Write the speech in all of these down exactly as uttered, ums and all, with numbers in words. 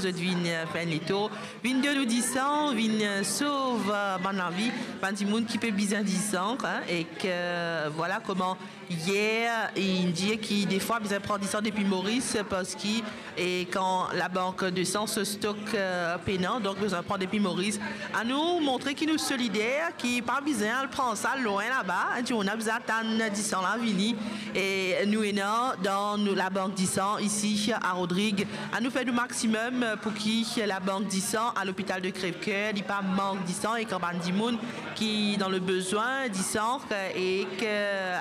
zot vinn, eh, fer enn letour, vinn donn nou disan, vinn, eh, sov, eh, bann lavi, bann dimoun ki pe bizin disan, hein, ek, eh, vwala koman yer, inn dir ki defwa bizin pran disan depi Moris, parski, e kan labank de san so stok, eh, pena, donk bizin pran depi Moris. Anou montre ki nou solider, ki pa bizin al pran sa lwin laba, hein, dimoun ena bizin atann disan la vini. E nou ena dan nou labank disan isi a Rodrig. Anou fer nou maximum pou ki labank disan a lopital de Crèvecoeur, li pa mank disan, e kan bann dimoun ki dan le bezwin disan, e ke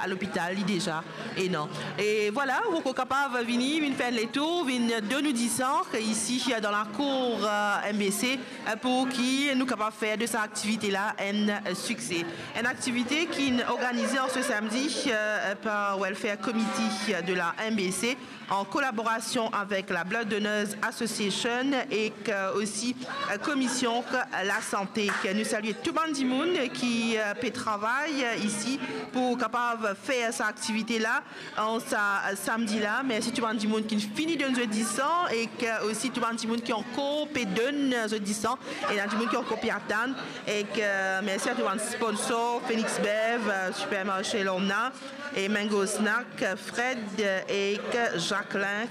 a lopital li deza ena. E vwala, ou ankor kapav vini, vinn fer enn letour, vinn donn nou disan isi dan lakour, eh, M B C, eh, pou ki nou kapav fer de sa aktivite la enn, eh, sikse. Enn aktivite ki inn organize an se samdi, eh, par Welfare Committee de la M B C, an kolaborasion avek la Blood Donors Association ek, eh, osi, eh, Komision Lasante. Nou salie tou bann dimoun ki, eh, pe travay, eh, isi pou kapav fer sa aktivite la an sa, eh, samdi la. Mersi tou bann dimoun ki fini donn zot disan ek, eh, osi tou bann dimoun ki ankor pe donn zot disan. Ena dimoun ki ankor pe atann. Ek, eh, mersi a tou bann sponsor, Phoenix Bev, eh, Supermarché Lorna, e Mango Snack, Fred, eh, ek Jacqueline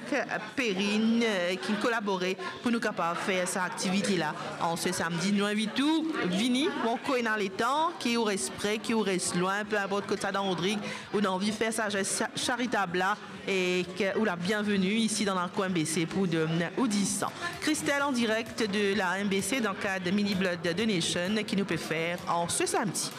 Perrine, eh, ki kolabore pou nou kapav fer sa aktivite la an se samdi. Nou invit ou vini, ou ankor ena letan, ki ou res pre, ki ou res lwin, pe inport kot sa dan Rodrig, ou ena anvi fer sa zes cha-, charitab la, e ke ou la bienveni isi dan lakour M B C pou donn ou disan. Christelle an direk de la M B C dan kad Mini Blood Donation ki nou pe fer an se samdi.